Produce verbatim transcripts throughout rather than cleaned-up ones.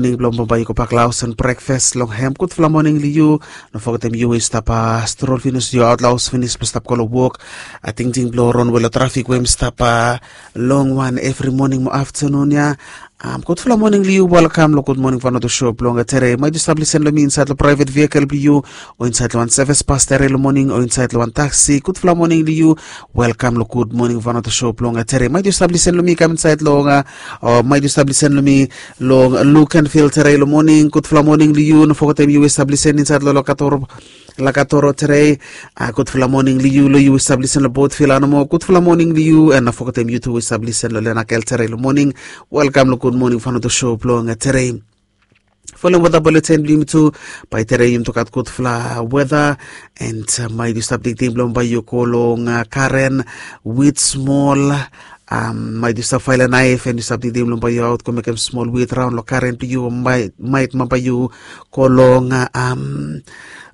Moning blong bambae yu go bak long haos and brekfas long hem. Gudfala moning long yu. No fogetem yu we yu stap strol finis, yu aot long haos finis blong stap go long wok. Tingting blong ron we long trafik we hem stap long wan evri moning mo aftanun ya. Gudfala moning long yu. Welkam long Gud Moning Vanuatu sho blong tere. Maet yu stap lisen long mi insaed long praevet vehikel blong yu, o insaed long wan sevis bas tere long moning, o insaed long wan taksi. Gudfala moning long yu. Welkam long Gud Moning Vanuatu sho blong tere. Maet yu stap lisen long mi kam insaed long, o maet yu stap lisen long mi long Lukenvil tere long moning. Gudfala moning long yu. No fogetem yu we stap lisen insaed long Lakatoro, Lakatoro tere. Gudfala moning long yu. Long yu we stap lisen long Botvil nomo, gudfala moning long yu. And no fogetem yu tu we stap lisen long Lenakel tere long moning. Welkam long Gud Moning Vanuatu sho blong tere. Folem weta bulletin blong yumi tu. Bae tere yumi tu gat gudfala weta. And maet yu stap tingting blong bae yu go long garen wit smol. Maet yu stap faele naef and yu stap tingting blong bae yu aot go mekem smol wit raon long garen blong yu, o maet bambae yu go long,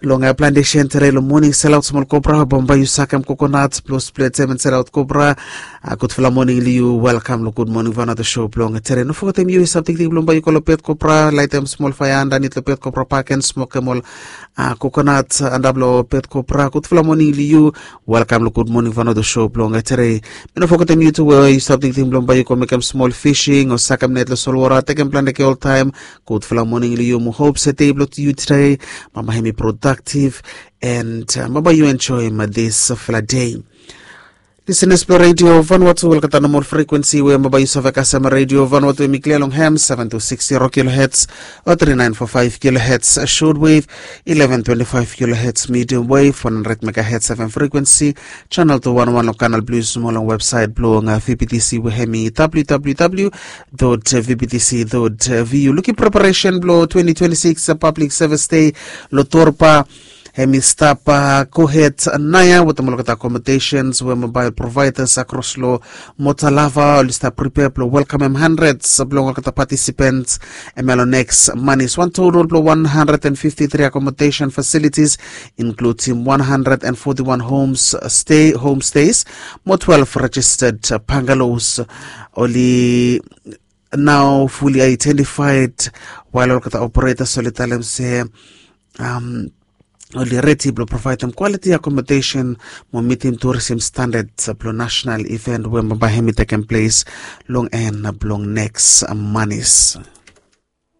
long plantesen tere long moning, selaot smol kopra, bambae yu sakem kokonat blong spletem and selaot kopra. Gudfala moning long yu. Welkam long Gud Moning Vanuatu sho blong tere. No fogetem yu we stap tingting blong bae yu go long bet kopra, laetem smol faea andanit long bet kopra pak and smokem ol kokonat antap long bet kopra. Gudfala moning long yu. Welkam long Gud Moning Vanuatu sho blong tere. Mi no fogetem yu tu we yu stap tingting blong bae yu go mekem smol fising o sakem net long solwota, tekem plante ke oltaem. Gudfala moning long yu. Mi hop se dei blong yu tede bambae hem i prodaktiv and bambae yu enjoem disfala dei. Lisenas blong Redio Vanuatu, olgeta nomol frekuensi we bambae yu save kasem Redio Vanuatu, hem i klia long hem, seven two six zero kilohertz o three nine four five kilohertz shortwave, eleven twenty-five kilohertz medium wave, one hundred megahertz F M frequency, channel two one one long kanal blue smol, long websaet blong V B T C we hem i W W W dot V B T C dot V U. Lukim preparesen blong twenty twenty-six Public Service Day long Torba. Hem i stap gohed naoia wetem olgeta accommodations we mobile providers akros long Motalava oli stap pripea blong welkamem handreds blong olgeta participants. Hemia long neks manis, wan total blong one hundred and fifty-three accommodation facilities, inkludim one hundred and forty-one homes stay, homestays mo twelve registered bungalows oli nao fully identified, wael olgeta operators oli talem se oli redi blong provaedem quality accommodation mo mitim tourism standards blong national event we bambae hem i tekem ples long en blong neks manis.